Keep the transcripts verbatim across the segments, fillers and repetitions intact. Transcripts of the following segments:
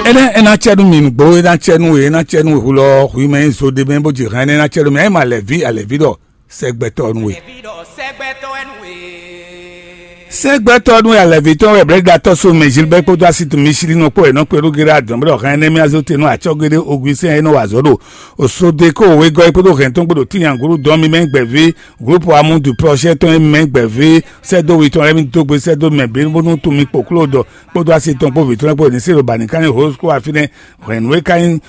Énɛ́ é ná cɛ nú mi nǔgbó, é ná cɛ nú we, é ná cɛ nú we hulɔ, hwi mɛ nyí zo ɖé mɛ bó ji hɛn, énɛ́ é ná cɛ nú mi. Ényí ma lɛ̌ví, alɛ̌ví ɖɔ sɛgbɛtɔ́ nú we. Sɛgbɛtɔ́ nú alɛ̌ví tɔn wɛ blɛ̌ɖatɔ́ so mɛ Gilbert kpódó asitu Michelin kpó wɛ nɔ kpé ɖó géré adɔn bó ɖɔ hɛn énɛ́ mì azó te nú acɔ́géɖé Augustin e nɔ wa azɔ̌ ɖo Osodeko wegɔ́ é kpódó hɛn tɔn kpó ɖo tínyangúrú dɔn mi mɛ gbɛ̌ví groupe amour du projet tɔn e mɛ gbɛ̌ví sɛ́dó wi tɔn lɛ́ɛ mi dó gbe sɛ́dó mɛ bǐ bónú tunmi kpoklo ɖɔ kpódó asi tɔn kpó vǐ tɔn lɛ́ɛ kpó ní se ɖo bǎnìkanní hǒ kó wá fínɛ́. Hwɛ̌nú e ka nyí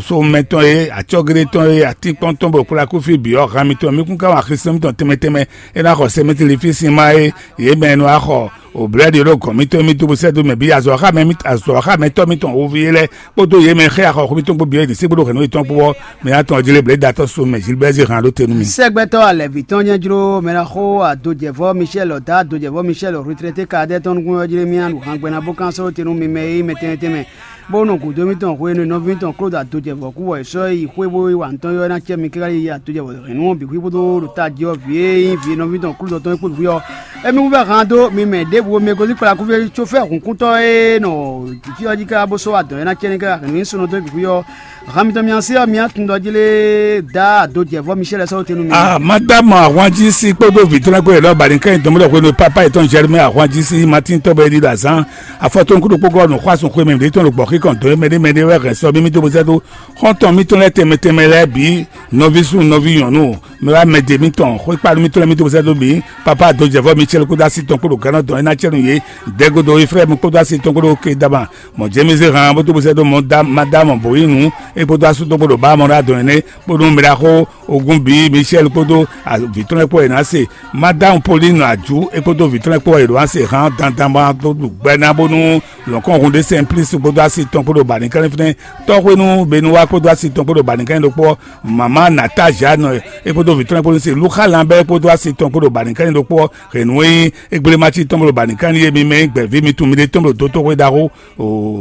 so mɛtɔn e, acɔ́géɖé tɔn e, atínkpɔ́n tɔn bɔ kplá kúfí bǐ ɔ́, han mitɔn mǐ kún ka wá Xlísú mítɔn tɛnmɛ tɛnmɛ. É ná xɔ sɛ́mɛtli fí sin má e yě mɛ e nɔ wá xɔ o blɛ̌ɖi ɖo gɔ̌n mítɔn e mì dó bó sɛ́ dó mɛ bǐ azɔ̌xámɛ mítɔn, azɔ̌xámɛtɔ́ mítɔn húví é lɛ́ɛ kpódó yě mɛ xá axɔxú mítɔn kpó bǐ e ɖi sí kpódó hɛ̌nnu yětɔn kpó ɔ́, mɛ ná tɔn jí lé blɛ̌ datɔ́ so mɛ Gilbert zé han ɖó te nú mi. Sɛgbɛtɔ́ alɛvǐ tɔn nyɛ jló mɛ ná xó adojɛvɔ́ Michel dá adojɛvɔ́ Michel retraité kadɛ tɔn nukún ɔ́ jlé mì ná ɖu han gbɛ́ ná bó kán sɔ́ te nú mi mɛ e mɛ tɛnmɛ tɛnmɛ. Bó nɔ gǔdo mítɔn hwenu e nɔví mítɔn Klódu adojɛvɔ́ kú bɔ è sɔ́ yi xwé bó yi wa nǔ tɔn ylɔ́ ná cɛ mi káká yi adojɛvɔ́ hɛ̌nnu ɔ́ bǐ xwí kpódó ɖo tají ɔ́ vǐ e nyí vǐ nɔví tɔn Klódu tɔn é kpó vǐ ɔ́, émí wú vɛ́ han dó mi mɛ ɖěbǔ mɛ gosín kplá kúfí có fɛ́ hǔnkúntɔ́ e nɔ fí ɔ́ jí káká bó sɔ́ wa dɔ̌n é ná cɛ ní káká hɛ̌nnu nyí sunɔ dɔn é bǐ xwí ɔ́. Han mitɔn mi ǎ sí ɔ́, mi ná tunwun ɖɔ jí lé dá adojɛvɔ́ Michel sɔ́ te nú mi. Ah, madame ahwanjí sí kpódó vǐ tɔn lɛ́ɛ kpó yě lɔ́ ba ní kɛ́n dɔnmɔdɔ hwenu e papa yětɔn Jɛremia ahwanjí sí Matín tɔ́ bɛ ɖi ɖo azǎn afɔtɔn kúɖokpó gɔ́ nǔxwásún xwé mɛ ɖě tɔn ɖo gbɔ̌xíkɔn dɔn mɛɖé mɛɖé wɛ hɛn sɔ́ mì mì dó bó sɛ́ dó xɔ́ntɔn mítɔn lɛ́ɛ tɛnmɛ tɛnmɛ lɛ́ɛ bǐ, nɔví súnnu nɔví nyɔ̌nu, mɛ wá mɛdě mítɔn xwékpánu mítɔn lɛ́ɛ mì dó bó sɛ́ dó mǐ. Papa adojɛvɔ́ Michel kpódó asi tɔn kpó ɖo gǎnɔ dɔn é ná cɛ nú yě. Dɛgodo Efrayímu kpódó asi tɔn kpó ɖo Kedama, mɔ̌ jɛ́n mì zé han bó dó bó sɛ́ dó mɔ dá madá mɔ bǒ yi nǔ é kpódó asú tɔn kpó ɖo bá mɔ ɖó adɔn énɛ́ kpódó mɛɖaxó ogun bǐ Michel kpódó vǐ tɔn lɛ́ɛ kpó wɛ è nǎ se. Madame Pauline Adjou é kpódó vǐ tɔn lɛ́ɛ kpó wɛ è ɖǒ ná se han dandan bó ná dó ɖu gbɛ ná bónú lɔ̌nkɔ́n hun ɖé Simplice kpódó asi tɔn kpó ɖo bǎnìkanlin fínɛ́. Tɔ́xwénú Benuwa kpódó asi tɔn kpó ɖo bǎnìkanlin ɖokpó ɔ́, mama Nata Jeanne é kpódó vǐ tɔn lɛ́ɛ kpó ní se Luxa Lambert kpódó asi tɔn kpó ɖo bǎnìkanlin ɖokpó ɔ́, hɛ̌nnu e nyí égblémací tɔn bó ɖo bǎnìkanlin e mi mɛ nyí gbɛ̌ví mi tunwun miɖée tɔn bó ɖo dótóxwé ɖaxó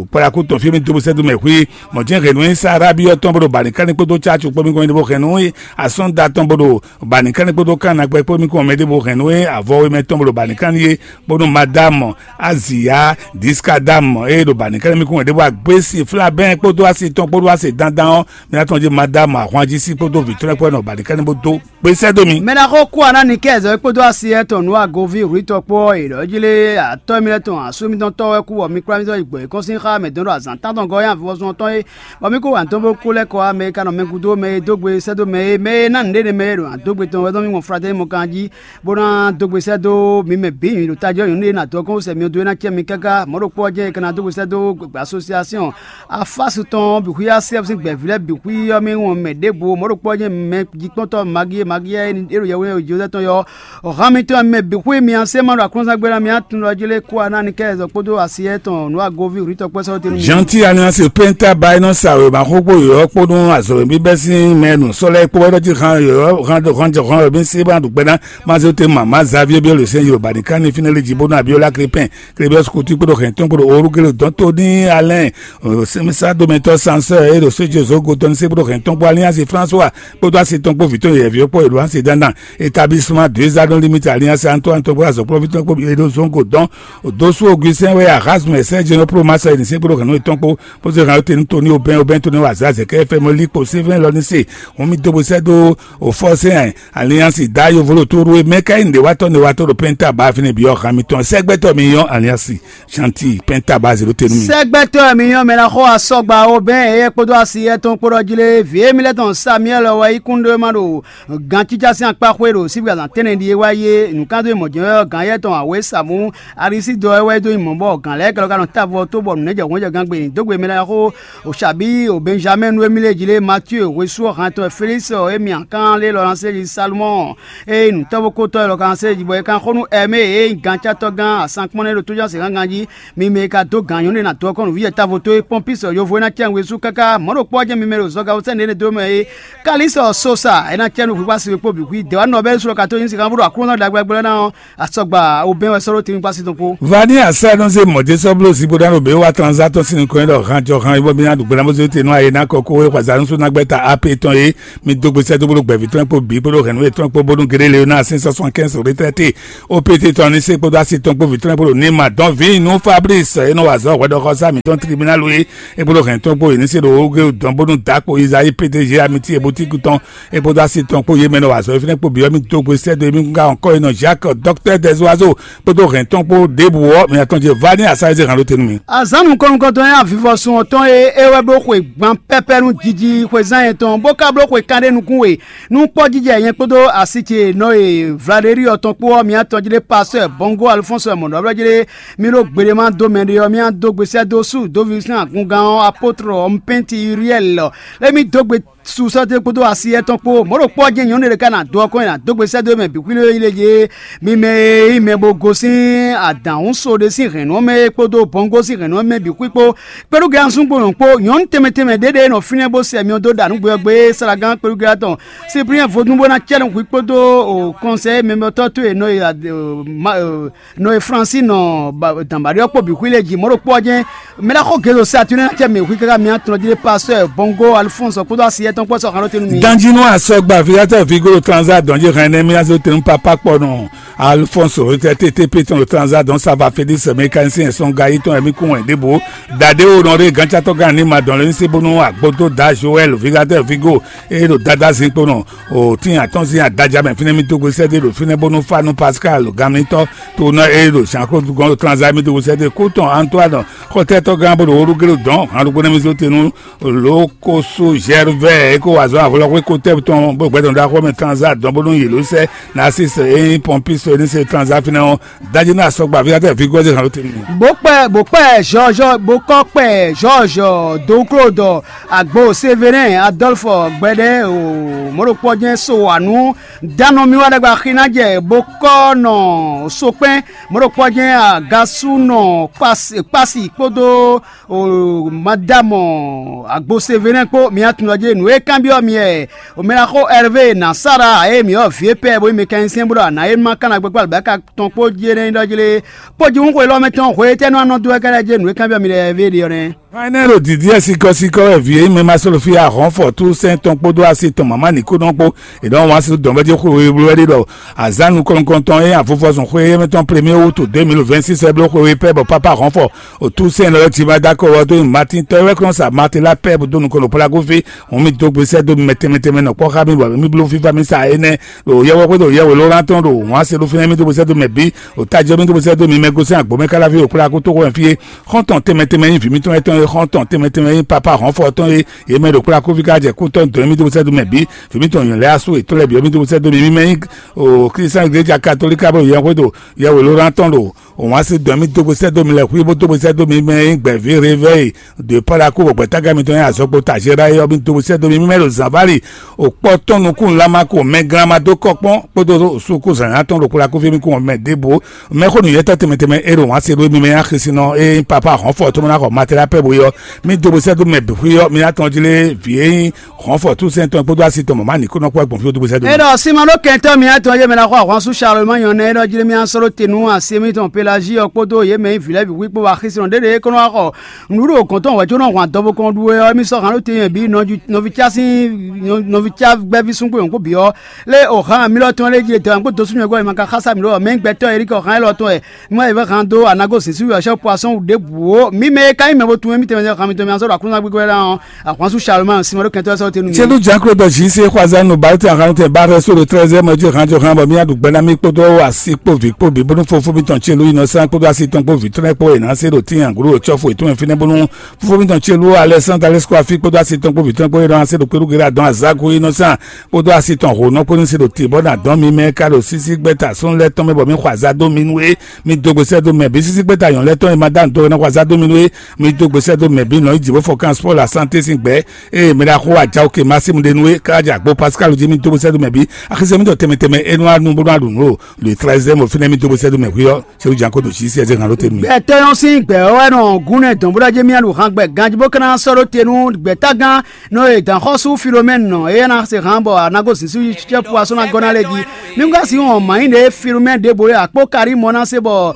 kpɔɖakú tɔn fí mi dó bó sɛ́ dó mɛ xwí. Mɔ̌ jɛ́n hɛ̌nnu e nyí Sárábíyɔ́ tɔn bó ɖo bǎnìkanlin kpódó cácu kpó mi kɔn mi ɖó hɛ̌nnu e asɔ́nda tɔn bó ɖo bǎnìkanlin kpódó kánnagbɛ kpó mi kɔn mɛ ɖěvo hɛ̌nnu e avɔwemɛ tɔn bó ɖo bǎnìkanlin é, bónú madame Azia Diskadam e ɖo bǎnìkanlin mi kɔn mɛ ɖěvo agbésí flabɛ́n kpódó asi tɔn kpódó asi dandan ɔ́, mi ná tɔn jí madame ahwanjísí kpódó vǐ tɔn lɛ́ɛ kpó wɛ nɔ bǎnìkanlin bó dó kpé sɛ́ dó mi. Mɛ ná xó kú aná Nikɛ́zɔ kpódó asi yɛtɔn nǔ agoví hwǐtɔ kpó ɔ́, è ɖɔ jí lé atɔ́ mi lɛ́ɛ tɔn asú mitɔn tɔ́ wɛ kú bɔ mi kplá mitɔn yi gbɔ̌ yěkɔ́n sín xá mɛ dɔn ɖo azǎn tántɔn gɔ́ nyi avivɔzɔn tɔn é, bɔ mí kó wǎn tɔn bó kú lɛ́ kɔ wá mɛ e ka nɔ mɛ gúdo mɛ e dó gbe sɛ́ dó mɛ é, mɛ e ná nǔɖé nɛ mɛ e ɖo adógbe tɔn wɛ zɔ́n mí mɔ fratɛ́ni mɔ kan jí, bó ná dó gbe sɛ́ dó mi mɛ bǐ nyǐ ɖo tají ɔ́ nyɔ̌nu e ná dɔn kɔn sɛ mi dó é ná cɛ mi káká. Mɔ̌ ɖokpó ɔ́ jɛ́n è ka ná dó gbe sɛ́ dó asosiasɔn afásu tɔn bǐ xwí asɛ́ sín gbɛ̌ví lɛ́ɛ bǐ xwí ɔ́ mɛ wɔn mɛ ɖěbǔ. Mɔ̌ ɖokpó ɔ́ jɛ́n mɛ jikpɔ́ntɔ́ Magie Magie e ɖo yɛhweɖɛ́ Jozɛ́ tɔn ɔ́, hǎn mitɔn mɛ bǐ xwí mi ɔ́, sɛ́ ma ɖo aklúnɔ́zángbe ná mi á tunwun ɖɔ jí lé kó aná ni kɛ zɔ kpódó asi etɔn nǔ agoví hwǐtɔ́ kpɛ́ sɔ́ tɛ́nú. Jean-Ti Alliance Penta Bainɔ sa wěma xó kpó yɔ̌yɔ́ kpó nú azɔ̌ e bíbɛ́ sín mɛ nǔsɔ́ lɛ́ɛ kpó wɛ ɖɔ jí han yɔ̌yɔ́ han hɔn wɛ mí sí bó ná ɖu gbɛ́ ná Mazéote Mama Xavier Biolosɛn Yorùbá ní ká ní fínɛ́ lé jí bónú Abiola Krépin Klébiɔ́s Kutu kpódó hɛn tɔn kpódó Orúkélé dɔn tó ní Alɛ́n sɛmɛsá domɛtɔ́ sansɛ e ɖo séjezó go tɔn ní sé kpódó hɛn tɔn kpó Alliance François kpódó asi tɔn kpó vǐ tɔn yɛ̌yɛ́ ví ɔ́ kpó Edouard Sedandan établissement deux anneaux limite Alliance Antoine tɔn kpó azɔ̌kplɔ́ví tɔn kpó Edo Zongo dɔn Dosu Augustin wɛ Erasme Sergio Pro Marcel ní sé kpódó hɛn nú etɔn kpó bó zé hɛn tenu Tony Aubin Aubin Tony wazazɛ kɛ fɛ mɔ likpo Sylvain Lɔnise hun mi dó bó sɛ dó o fɔsɛn Alliance da yovolo to ɖo mɛ ka yi nɖe watɔ nɖe watɔ ɖo pɛnta ba fini bi ɔhan mitɔn sɛgbɛtɔ mi yɔn Alliance Chanti pɛnta ba zero tenu mi. Sɛgbɛtɔ mi yɔn mɛ na xɔ asɔgba o bɛn eye kpodo asi etɔn kpodɔ jile vie mi lɛ tɔn Samuel wɛ yi kun ɖo ma ɖo gan cica sin akpa xwe ɖo sibi azan tɛnɛ ɖi e wa ye nukando mɔ jɛ gán yɛ tɔn awe samu arisi dɔ wɛ do mɔ bɔ gan lɛ kɛlɛ ka nɔ tavɔ to bɔ nunɛ jɛ hɔn jɛ gan gbe do gbe mi lɛ xo Osabi o Benjamin nu emi le jile Mathieu Wesu han tɔn Felix emi akan le lɔ se ji Salomon e nutɔ́vo kotɔ lɔ kan se ji bɔ e kan xo nu Ɛmɛ e gan catɔ gan asankpɔn ne ɖo tójá se gangan ji mi mɛ e ka dó gan nyɔnu na dɔ kɔn nǔví yɛ tavo to e pɔnpis yovo e na cɛ Wesu kaka mɔ̌ ɖo kpɔ jɛ mi mɛ ɖo zɔga sɛn ne do mɛ e Kalisɔ Sosa e na cɛ nu Wíwá si kpó bǐ xwí dɛ̌wá nɔ bɛ́ sɔ́ ka tó nyí sikan bó ɖo Aklúnɔ ɖagbe gbɛ́ ná ɔ́, asɔgba obɛ́n wɛ sɔ́ ɖó tɛnmɛ kpá sí tɔn kpó. Vani asá nɔ zé mɔ̌ dé sɔ́ bló zigbó ɖá ɖo bě wá tranzá tɔn sín nukɔn ɖɔ han jɔ han bó bí ná ɖu gbɛ́ ná bó zé te nú ayé ná kɔ kó wé xwazánú sú ná gbɛ́ ta A P tɔn é. Mi dó gbe sɛ́ dó bó ɖo gbɛ̌ví tɔn kpó bǐ kpó ɖo hɛ̌nnu yětɔn kpó bónú Gedé Leoná sín sɔ́ sɔn kɛ́nsɔ rétrɛ́te. O P T tɔn ní sé kpódó así tɔn kpó vǐ tɔn kpó ɖo ní ma dɔn vǐ nú Fablísi e nɔ wa azɔ̌ hwɛɖɔxɔsá mǐtɔn tlibínálu é. É kpódó hɛn tɔn kpó yě ní sé ɖo wógé dɔn bónú dǎ kpo Izayi P D G amití e boutíki tɔn é kpódó así tɔn kpó yě mɛ nɔ wa azɔ̌ e fínɛ́ kpó bǐ ɔ́, mì dó gbe sɛ́ dó émí gán ɔ́ kɔ́ e nɔ Jacques, Docteur Dezouazo kpódó hɛn tɔn kpó ɖěbǔ ɔ́, mi atɔn ce vá ní asá e zé hǎn ɖó te nú mi. Azǎn nukɔn-nukɔntɔn e avivɔsun ɔ́tɔn e é wɛ bló xwe gban pɛ́pɛ́ nú jiji xwezán yɛn tɔn, bó ka bló xwe kanɖé nukún we nú kpɔ́jijɛ nyɛ kpódó asi ce nɔ e Vlaɖeri ɔ́ tɔn kpó ɔ́, mi atɔn jí ɖé Pasteur Bongo Alphonse mɔ̌ɖɔblɔ́ jí ɖé. Mi ɖo gbeɖé ma dó mɛ ɖé ɔ́, mi adó gbe sɛ́ dó sú dóví sín agungán ɔ́, apótr ɔ́, Mpɛ́nti Uriɛl lɔ, lé mi dó gbe su sɔ́ dó kpódó asi yɛ́tɔn kpó. Mɔ̌ ɖo kpɔ́ jɛ́n nyɔ̌nu ɖé ká ná dó ɔ́ kɔn nyi ná dó gbe sɛ́ dó mɛ bǐ xwílé yi lé yé. Mi mɛ e nyí mɛ bo gosín adǎhúnso ɖé sín hɛ̌nnu ɔ́ mɛ é kpódó bɔngó sín hɛ̌nnu ɔ́ mɛ bǐ xwí kpó, kpɛɖúgɛ súngbonɔ kpó nyɔ̌nu tɛnmɛ tɛnmɛ ɖé ɖé nɔ fínɛ́ bó sɛ myɔ dó ɖa nǔgbé ɔ́ gbé é slágán kpɛɖúgɛ tɔn Cyprien vodún bó ná cɛ́ nɔ hwi kpódó kɔnsɛ́ mɛmɛtɔ́ towe nɔ e nɔ e Fransi nɔ dǎnbaɖé ɔ́ kpó bǐ xwí lɛ́ɛ jí mɔ̌ ɖo kpɔ́ jɛ́n. Mɛ ɖaxó Gɛzo Saturnin ná cɛ mɛ hwi káká mi atɔn jí ɖé Pasteur Bongo Alphonse kpódó asi yɛtɔn kpó sɔ́ xan ɖó te nú mi. Danjínú asɔgba Vigatɔ Vigo ɖo Tranza dɔn jí hɛn nɛ́ mì ná zé tɛnú papá kpɔ nɔ Alphonse Rotɛ T T P tɔn ɖo Tranza dɔn Sava Félix mécanicien sɔn gayi tɔn ɛmí kún wɛn ɖěbǔ. Dade wo nɔ ɖe gǎncátɔ́ gán ní ma dɔn lé ní sí bónú agbódó da Joël Vigatɔ Vigo e ɖo Dada zinkpo nɔ o tín atɔ́nzin adaja mɛ fínɛ́ mì dó gbe sɛ́ dó ɖo fínɛ́ bónú fá nú Pascal gamlítɔ́ to nɔ e ɖo Jean Claude gɔ́n ɖo Tranza mì dó gbe sɛ́ dó kú tɔn Antoine xɔtɛ́tɔ́ gán bó ɖo Olugélo dɔn han ɖokpó nɛ́ mì zó te nú Lokoso Gervais e ko wa azɔ̌ avlɔxwé ko tɛ́ tɔn bó gbɛ́ tɔn ɖó axɔ́ mɛ Tranza dɔn bónú yě ló sɛ́ Narcisse e nyí pɔnpísɔ e ní se Tranza fínɛ́ ɔ́. Dají ná sɔgba ví atɛ ví gɔ́ zé hàn ló tɛ́ nínú. Bó kpɛ bó kpɛ Jɔjɔ bó kɔ kpɛ Jɔjɔ Doklodɔ agbo Severin Adɔlfɔ gbɛɖɛ o mɔɖokpɔ jɛn so wanu danɔ mi wa ɖagba xina jɛ bó kɔ nɔ sokpɛn mɔɖokpɔ jɛn agasu nɔ kpasi kpasi kpódó o madamɔ agbo Severin kpó mi atun lɔ jɛ nǔ e kanbyɔ mi ɛ o mɛ na xo Hervé na Sara e mi ɔ vie pɛ bo mi kɛn sɛn bro ana e ma kana gbɛkpɔ alibaka tɔn kpó jɛ ne ɖɔ jɛ kpó ji hun xwe lɔ mɛ tɔn xwe tɛ nɔ anɔ do ɛ kɛlɛ jɛ nǔ e kanbyɔ mi lɛ ve ɖe ɔ nɛ. Hàn énɛ́ ɖo dǐdí ɛ sikɔ́sikɔ́ wɛ vǐ e nyí mɛ ma sɔ́ ɖo fí ahɔ̌nfɔ túsɛn tɔn kpódó asi tɔn mama nǐkúnɔ kpó è nɔ wǎn si dɔ̌nvɛ́ jí xwe we bló wɛ ɖé ɖɔ azǎn nukɔn-nukɔntɔn e avuvɔzɔn xwe éyɛ́ mɛ tɔn premier wútu deux mille vingt-six wɛ bló xwe we pɛ́ bɔ pápá ahɔ̌nfɔ o túsɛn lɔ jí ma dó akɔ wɔ dó nyi Martin tɔ́ e wɛ kplɔ́n sa Martin lá pɛ́ bó dó nukɔn ɖo Plagoví hɔn mì dó gbe sɛ́ dó mi mɛ tɛnmɛ tɛnmɛ nɔ kpɔ́ xá mì bɔ mì bló fífá mì sa énɛ́ ɖo yɛwɔ xwé ɖo yɛwɛ ló ná tɔn ɖo wǎn se ɖó fínɛ́ mì dó gbe sɛ́ dó mɛ bǐ o tají ɔ́ mì dó gbe sɛ́ dó mi mɛ gosɛ́n agbǒmɛ káláví o Plago tó xwɛn fí é. Xɔ́ntɔn tɛnmɛ tɛnmɛ nyí vǐ mítɔn étɔn e xɔ́ntɔn tɛnmɛ tɛnmɛ nyí papa hɔnfɔ tɔn e yě mɛ ɖo kplá kófí ká jɛ kútɔ́ dɔn mì dó sɛ́ dó mɛ bǐ. Vǐ mítɔn nyɔ̌lɛ́ asú yětɔn lɛ́ɛ bǐ ɔ́ mì dó sɛ́ dó mi. Mí mɛ nyí o Klísa Igleja Katolíka bó yɛ xwé ɖo yɛwělóɖán tɔn ɖo òwǎn sí dɔn mì dó sɛ́ dó mi lɛ xwí bó dó sɛ́ dó mi mɛ nyí gbɛ̌ví réveil de Palaku bɔ gbɛ̌tágán mitɔn nyí azɔgbo Tajéra é ɔ́ mì dó sɛ́ dó mi. Mí mɛ ɖo zǎnválì òkpɔ tɔn nukún Lamako mɛglán ma dó kɔ kpɔ́n kpódó sukú zǎnzǎn tɔn ɖo kplá kófí mì kún mɛ ɖěbǔ. Mɛxó nǔnywɛ́tɔ́ tɛnmɛ tɛnmɛ e ɖo wǎn se ɖó émí mɛ nyi axisínɔ e nyí Papa Hɔnfɔ to mɔ ná xɔ Matela pɛ́ bo é ɔ́, mì dó gbe sɛ́ dó mɛ bǐ xwí ɔ́, mi ná tɔn jí lé vǐ e nyí Hɔnfɔ túnsɛn tɔn kpódó asi tɔn mɔ̌ ma nǐ kó nɔ kpɔ́ gbɔn fí ó dó gbe sɛ́ dó mì. É ɖɔ Simɔn ɖó kɛntɔ́ mǐtɔn e mɛ ná xɔ ahwan sú Salomɔ́ nyɔ̌nu é ɖɔ jí mì ná sɔ́ ɖó te nú asi mǐtɔn Pelazíɔ kpódó yě mɛ e nyí vǐ lɛ́ɛ bǐ xwí kpó wá axisínɔ ɖěɖě é kó nɔ wá xɔ nǔɖuɖu kɔn tɔn wɛ̌ có nɔ hwan dɔbo kɔn ɖu é ɔ́, émí sɔ́ han ɖó te nyɛ bǐ nɔví cá sín nɔví cá gbɛ́ví súngbó nyɔ̌nu kpó bǐ ɔ́, lé o han mi lɔ tɔn lé jí dɔn kpó dosú nyɔ̌gbɔn e ma ka xá sá mi ɖó ɔ mɛ gbɛtɔ́ Eriki ɔ han élɔ́ tɔn wɛ. Mɔ e vɛ́ han dó anago zǐn sí wɛ sɔ́ poisson ɖěbǔ ó. Mi mɛ e ka nyí mɛ bo tunwun émítɛn mɛ han mitɔn mi azɔ́ ɖo aklúnɔ gbígbó ná ɔ́, ahwansu Salomɔn Simɔn ɖo kɛntɔ́ sɔ́ tenu mi. Celu Janklo dɔ zi se xwaza nu ba te ahan tɛ ba rɛ so ɖo trɛzɛ mɛ jí han jɔ han bɔ mi aɖu gbɛ na mi kpódó asi kpó vi kpó bi bónú fofó mitɔn Celu yi nɔ sán kpódó asi tɔn kpó vi tɔn kpó e ná se ɖo tín anglo ɖo cɔ́fu etɔn mɛ fínɛ́ bónú fofó mitɔn Celu Alexandre Alexkɔ afi kpódó asi tɔn kpó vi tɔn kpó e nɔ se ɖo kpéɖu gera dɔn azago yi nɔ sán kpódó asi tɔn ho nɔ kpó ní se ɖo te bɔ na dɔn mi mɛ ka ɖo sísí gbɛta sɔn lɛ tɔn mɛ bɔ mi xɔ azá dó mi nú é. Mi dó gbe sɛ́ dó mɛ bǐ sísí gbɛta nyɔ̌nu lɛ tɔn e ma dá nǔ dó wɛ ná xɔ azá dó mi nú é. Mi dó gbe sɛ́ dó mɛ bǐ nɔ yi jǐ bó fɔ kan spɔ́ la santé sín gbɛ̌. Ée mi ɖa xó ajawo ke Másimu ɖe nú é káká jɛ agbo Pascal jí mi dó gbe sɛ́ dó mɛ bǐ. Axisɛ mi dɔ tɛnmɛ tɛnmɛ é nɔ wá nu bó nɔ wá ɖu nǔ o. Le treizième ò fínɛ́ mi dó gbe sɛ́ dó mɛ hwí ɔ́. Akódo sí sí ɛzé hàn ló tɛnu mi. Gbɛtɔ́ nyɔ́ sín gbɛ̌ ɔ́ wɛ nɔ gún nɛ́ dɔ̌n bó ɖɔ jɛ mì aɖu han gbɛ ganjí bó ka ná sɔ́ ɖó te nú gbɛ̌tágán nɔ e dǎnxɔ́sú Filomɛ́ni nɔ, éyɛ́ ná se hǎn bɔ a nǎ gosín sú cɛ́fu asɔ́ ná gɔ́ ná lɛ́ɛ jí. Mí ka sixú hɔn mǎ nyí ɖě Filomɛ́ni ɖěbǔ é akpó Karímɔ ná se bɔ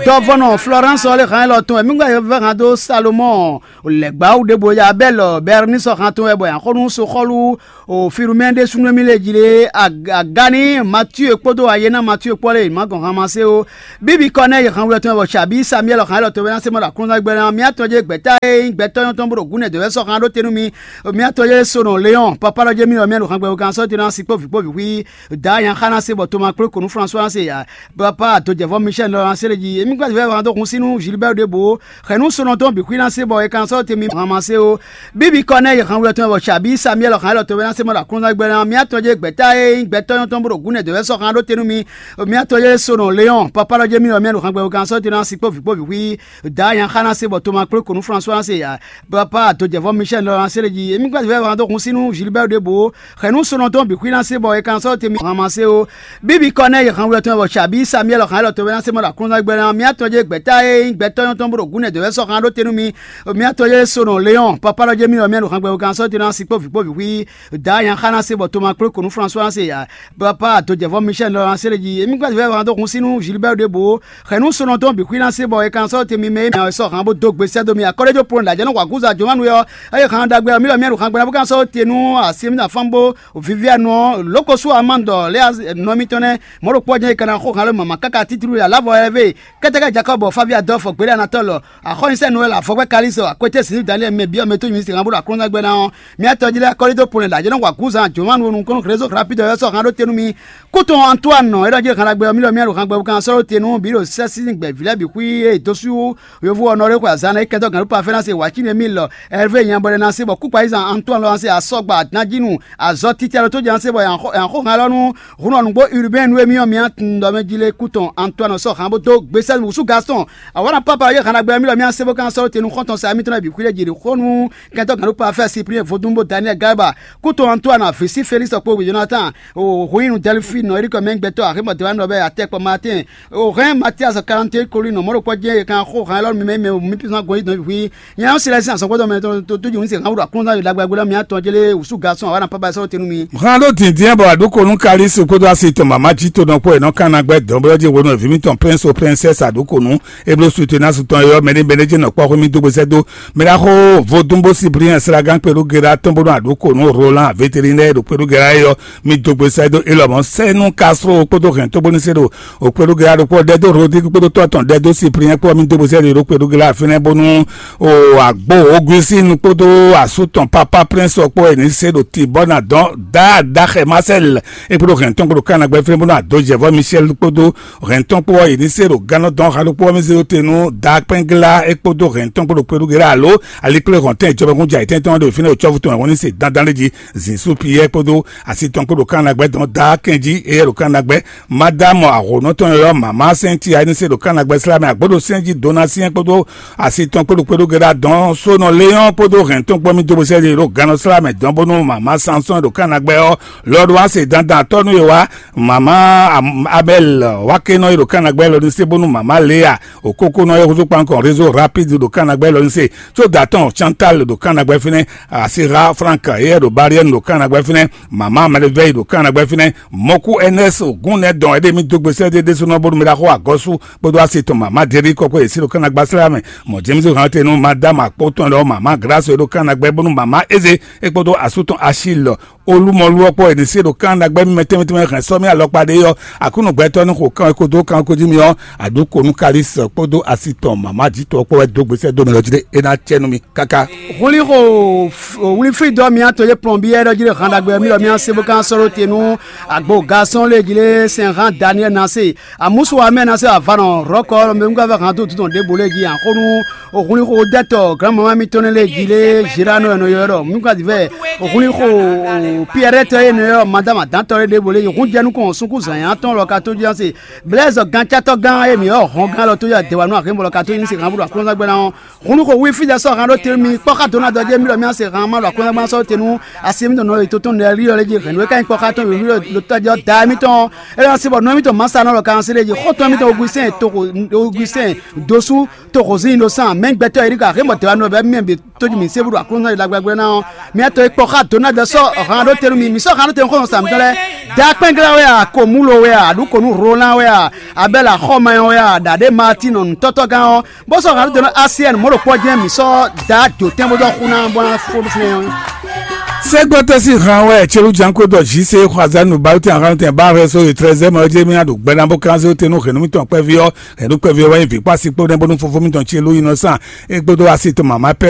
dɔvɔnɔ Florence ɔ́ lɛ́ hán élɔ́ tɔn wɛ. Mí ka vɛ́ hán dó Salomɔ́ɔ lɛ̌gbáwú ɖěbǔ e Abɛ́lɔ Bɛrnisɔ hán tɔn wɛ bɔ è nǎ xo nú soxɔ́lú o Filomɛ́ni ɖésúnɔ mì lě jí lé. Agani Matíe kpódó ayé ná Matíe kpɔ́ lé má gɔn han ma sé ó. Bíbí kɔ nɛ́ yě han wlɔ tɔn wɛ bɔ Sabí Samuɛ́li hán élɔ́ tɔn wɛ ná se mɔ ɖo aklúnɔ́gbɛ́ ná. Mía tɔn jɛ gbɛ̌ta e nyí gbɛtɔ́ nyɔ́tɔn bó ɖo gǔnɛ dɔ̌ wɛ sɔ́ han ɖó te nú mi. Mía tɔn jɛ Sonɔ Leɔ́n, papá lɔ jɛ mì lɔ mía ɖo han gbɛ kan sɔ́ te ná si kpó vǐ kpó vǐ xwí. Dǎ nya xá ná se bɔ toma kplé kǒ nú Flasuwa ná se ya. Papa dojɛvɔ Michel lɔ ná se lé jí. Émí gbɛ́ vɛ́ han dó hun sín nú Gilbert ɖěbǔ. Xɛ̌ nú Sonɔ tɔn bǐ xwí ná se bɔ è kan sɔ́ te mi han ma se ó. Bíbí kɔ nɛ́ yě han wlɔ tɔn wɛ bɔ Sabí Samuɛ́li hán élɔ́ tɔn wɛ ná se mɔ ɖo aklúnɔ́gbɛ́ ná. Mía tɔn jɛ gbɛ̌ta e nyí gbɛtɔ́ nyɔ́tɔn bó ɖo gǔnɛ dɔ̌ wɛ sɔ́ han ɖó te nú mi. Mía tɔn jɛ Sonɔ Leɔ́n, papá lɔ jɛ mì lɔ mía ɖo han gbɛ kan sɔ́ te ná si kpó vǐ kpó vǐ xwí. Dǎ nya xá ná se bɔ toma kplé kǒ nú Flasuwa ná se ya. Papa dojɛvɔ Michel lɔ ná se lé jí. Émí gbɛ́ vɛ́ han dó hun sín nú Gilbert ɖěbǔ. Xɛ̌ nú Sonɔ tɔn bǐ xwí ná se bɔ è kan sɔ́ te mi han ma se ó. Bíbí kɔ nɛ́ yě han wlɔ tɔn wɛ bɔ Sabí Samuɛ́li hán élɔ́ tɔn wɛ ná se mɔ ɖo aklúnɔ́gbɛ́ ná. Mía tɔn jɛ gbɛ̌ta e nyí gbɛtɔ́ nyɔ́tɔn bó ɖo gǔnɛ dɔ̌ wɛ sɔ́ han ɖó te nú mi. Mía tɔn jɛ Sonɔ Leɔ́n, papá lɔ jɛ mì lɔ mía ɖo han gbɛ kan sɔ́ te ná si kpó vǐ kpó vǐ xwí. Dǎ nya xá ná se bɔ toma kplé kǒ nú Flasuwa ná se ya. Papa dojɛvɔ Michel lɔ ná se lé jí. Émí gbɛ́ vɛ́ han dó hun sín nú Gilbert ɖěbǔ. Xɛ̌ nú Sonɔ tɔn bǐ xwí ná se bɔ è kan sɔ́ te mi mɛ e mɛ sɔ́ han bó dó gbe sɛ́ dó mi. Akɔ́ɖéjó Poloni ɖo ajɛ̌ nɔ wa gúza Jomanu ɔ́, eye han ɖagbe ɔ́, mì lɔ mía ɖo han gbɛ ná bó kan sɔ́ te nú asi e mì ná fán bó Vivianu ɔ́, Lókosú Amandɔ lɛ́ nɔ mitɔn nɛ́. Mɔ̌ ɖokpó ɔ́ jɛ́n è ka ná xo han lɔ mama káká títlú ya lǎvɔ lɛ́ɛ vɛ. Kɛ́tɛ́kɛ́ Jakɔ́bɔ, Favi Adɔlfɔ, Gbéɖé Anatɔ́lɔ, Axɔ́nyinsɛ́n Nowɛ́l, Avɔgbɛ́ Kalísɔ, Akwété Sinú Daniɛ́li mɛ byɔ́ mɛ tó nyǐ sin han bó ɖo aklúnɔ́gbɛ́ ná ɔ́, mía tɔjí lɛ́ɛ kɔ́lí dó polɛ ɖo ajɛ́ nɔ wa gǔzan Jomanu ɔ́ nukɔn nú Rézo Rapide ɔ́ sɔ́ han ɖó te nú mi. Kútɔn Antoine ɔ́, é ɖɔ jí han ɖagbe ɔ́, mì lɔ mía ɖo han gbɛ kan sɔ́ ɖó te nú bǐ ɖo sɛ́ sín gbɛ̌ vǐ lɛ́ɛ bǐ xwí e dó sú yovo ɔ́ nɔ ɖé xwe azǎn ná é kɛntɔ́ gǎn ɖó pafɛ́ ná se wǎ cí nɛ́ mì lɔ Ɛrvé nyɛ bɔ ɖé ná se bɔ kúkpa yí zan Antoine lɔ ná se asɔ́gba ná jí nu azɔ̌ títí alɔ tó jɛ ná se bɔ yǎn xó han lɔ nú Hun ɔ́ nǔgbó Urbain nú émí ɔ́, mǐ tunwun ɖɔ mɛ jí lé kú tɔn Antoine sɔ́ han bó dó gbesɛ́ wǔsú Gaston. Awǎna Papa ɔ́ yě han ɖagbe ɔ́, mì lɔ mǐ ná se bó ka sɔ́ te nú xɔ́ntɔn sa émítɔn lɛ́ɛ bǐ xwí lɛ́ɛ jǐ ɖo xó nú kɛntɔ́ gǎn ɖó Pafɛ́ Cyprien Vodún bó Daniel Galba, kú tɔn Antoine, Visi Félix kpó Jonathan, Hoyinu Delphine, Eric Mɛngbɛtɔ́, Aximɔ Dewanu ɔbɛ Atɛkpɔ Martin, Ohɛn Mathias Quarante Colin, mɔ̌ ɖokpɔ jɛ́n è kan xó han élɔ́ mi mɛ mɛ mi písan gɔn yi dɔn hwi. Nya ɔ́ si lɛ́ sín azɔn gbɔdɔ mɛ tó tó ju ní se han wúɖu aklúnɔ́ ɖagbe agbélé mì atɔn jélé wǔsú Gaston awǎ na Papa sɔ́ te nú mi. Han ɖó dǐndín bɔ aɖǔkonu Kalisi kpódó asi tɔn mama jí tonɔ kpó è nɔ kan ná gbɛ́ dɔ̌nblɔ́ jí hwenu e vǐ mitɔn Prince o Princess aɖǔkonu e bló suite ná su tɔn é ɔ́, mɛɖé mɛɖé jɛ́n nɔ kpɔ́ xwé mì dó gbesɛ́ dó. Mɛ ɖaxó Vodún bó Cyprien Sragán kpéɖó Gera tɔn bónú aɖǔkonu Roland vétérinaire ɖo kpéɖó Gera é ɔ́, mì dó gbesɛ́ dó é lɔmɔ̌ sɛ́ nú Castro kpódó hɛn tó bónú sé ɖo Okpéɖó Gera ɖokpó ɖɛdó Rodrigue kpódó tɔ́ tɔn ɖɛdó Cyprien kpó ɔ́, mì dó gbesɛ́ ɖo Kpéɖó Gera fínɛ́ bónú o àgbo Augustin kpódó asú tɔn Papa Prince ɔ́ kpó è nǐ se ɖo Tibɔ́na dɔn Daa Daxɛ Marcel é kpódó hɛn tɔn kpódó Kanagbɛ́ fínɛ́ bónú Adojɛvɔ Michel kpódó hɛn tɔn kpó ɔ́, è nǐ se ɖo gannɔ dɔn xa ɖokpó ɔ́, mì zé ɖó te nú Daa Kpɛngla é kpódó hɛn tɔn kpódó Kpéɖó Gera alo Alikplé Hɔntɛn jɔbɛkun jɛ ayǐtɛ́ntɔn ɖo fínɛ́ ɖo cɔ́fu tɔn wɛ hɔn ní se dandan lé jí Zisu Piyɛ́ɛ kpódó asi tɔn kpó ɖo Kanagbɛ́ dɔn Daa Kɛnjí éyɛ́ ɖo Kanagbɛ́ Madame Ahonɔtɔn yɔyɔ mama sɛnti ayinise ɖo Kanagbɛ slamɛ agboɖo sɛnji Donatien kpódó asi tɔn kpóɖo kpóɖó gɛɖa dɔn sónɔ Léon kpódó hɛn tɔn kpɔ́ mì dó bosɛ ɖo gannɔ slamɛ dɔn bónú mama Sanson ɖo Kanagbɛ ɔ́ lɔɖo ase dandan tɔnu ye wa mama Abel wakenɔ yi ɖo Kanagbɛ lɔ ní se bónú mama Léa okókónɔ yɛ húzú kpankɔ réseau rapide ɖo Kanagbɛ lɔ ní se tso datɔn Chantal ɖo Kanagbɛ fínɛ asira Frank yɛ ɖo Bariɛn ɖo Kanagbɛ fínɛ mama Mɛlɛvɛyi ɖo Kanagbɛ fínɛ mɔku Ernest Ogunɛ dɔn ɛɖe mi dó gbèsè ɖe ɖésúnɔ bónú mi ɖaxó agɔsú kpódó asi tɔn mama Jerry kɔkɔ yě sí ɖo Kanagbá srá mɛ mɔ James hàn tenu madame akpó tɔn lɔ mama Grace ɖo Kanagbɛ bónú mama Eze é kpódó asú tɔn Achille olúmɔlú ɔkpɔ yě ní sí ɖo Kanagbɛ mi mɛ tɛnmɛ tɛnmɛ hɛn sɔmi alɔkpa ɖe yɔ akúnú gbɛtɔ ní xo kan kódó kan kó jí mi ɔ aɖú konu Kalis kpódó asi tɔn mama jítɔ kpó wɛ dó gbèsè dó mi lɔ jí ɖé é ná cɛ nú mi káká. Hulixo wliflidɔ mia to ye plɔnbiɛ ɖɔ jí ɖe han ɖagbe mi ɖɔ mia se bó kan sɔ́ ɖó te nú agbo gasɔn lé jí lé sɛn han Daniel na se amusu wa mɛ na se avanɔ rɔkɔ mɛ mu ka vɛ han tó tutɔn ɖěbǔ lé jí axɔnu hulixo dɛtɔ granmama mitɔn ne lé jí lé Gérard nɔ ɛnɔ yɔ ɖɔ mu ka divɛ hulixo Piyɛrɛtɔ e nɔ ylɔ́ Madama Dantɔ e ɖěvo lě yi hun jɛ nukɔn ɔ́, sunkún zǎnyá tɔn lɔ ka tó jí ɔ́ se. Blɛ́zɔ gancátɔ́ gán e mǐ ylɔ́ hɔn gán lɔ tó yi adɛwanu axémɔ lɔ ka tó nyí se hǎn bó ɖo aklúnɔzán gbɛ́ ná ɔ́. Hun nú xo hu fí jɛ sɔ́ hǎn ɖó te nú mi kpɔ́ xá dó ná dɔ jɛ mí ɖɔ mí ná se hǎn ma ɖo aklúnɔzán gbɛ́ ná sɔ́ te nú asi émítɔn nɔ yi tótó nɛlí ɔ́ lɛ́ jí hɛ̌nnu e ka nyí kpɔ́ xá tɔn wěwé ɖo tɔ́ jɛ ɔ́ da émítɔn ɔ́. É ná sí bɔ nɔ émítɔn Masa nɔ lɔ ka ná se ɖé jí xɔ́ntɔn émítɔn Ogusɛ́n toxo Ogusɛ́n dosú toxo zín ɖo sán mɛ gbɛtɔ́ e ní ka axémɔ dɛwanu ɔ́ bɛ́ mì bǐ tójú mǐ sé búɖo aklúnɔzán yi ɖagbagbɛ́ ná ɔ́. Mía tɔn e kpɔ xá dǒ ná dɔ sɔ́ hǎn ɖó te nú mi, mǐ sɔ́ hǎn ɖó te nú xɔ́ntɔn sa mǐtɔn lɛ́ɛ. Dakpɛ́nglá wɛ a, Komulo wɛ a, aɖǔ ko nú Rolan wɛ a, Abɛ́la Xɔmayɔn wɛ a, ɖaɖě Matín nǔtɔ́tɔ́gán ɔ́, bó sɔ́ hǎn ɖó te nú Asiɛ́ni mɔ̌ ɖo kpɔ́ jɛ́n mǐ sɔ́ dǎ dǒtɛn bó dɔ́ xú ná bó ná fó nú fínɛ́ ɔ́. Sɛ́gbɛ́tɔ́ sín han wɛ Celu Janko dɔ Jise Xwazanu Balutɛn Aranutɛn ba Vɛso e Trɛzɛ́ mɛ ɔ́ jɛ mì ná ɖo gbɛ ná bó kán zé te nú hɛ̌nnu mitɔn kpɛví ɔ́, hɛ̌nnu kpɛví ɔ́ wɛ nyí vǐ kpó asi kpó nɛ́ bónú fofó mitɔn Celu yi nɔ sán é kpódó asi tɔn mama pɛ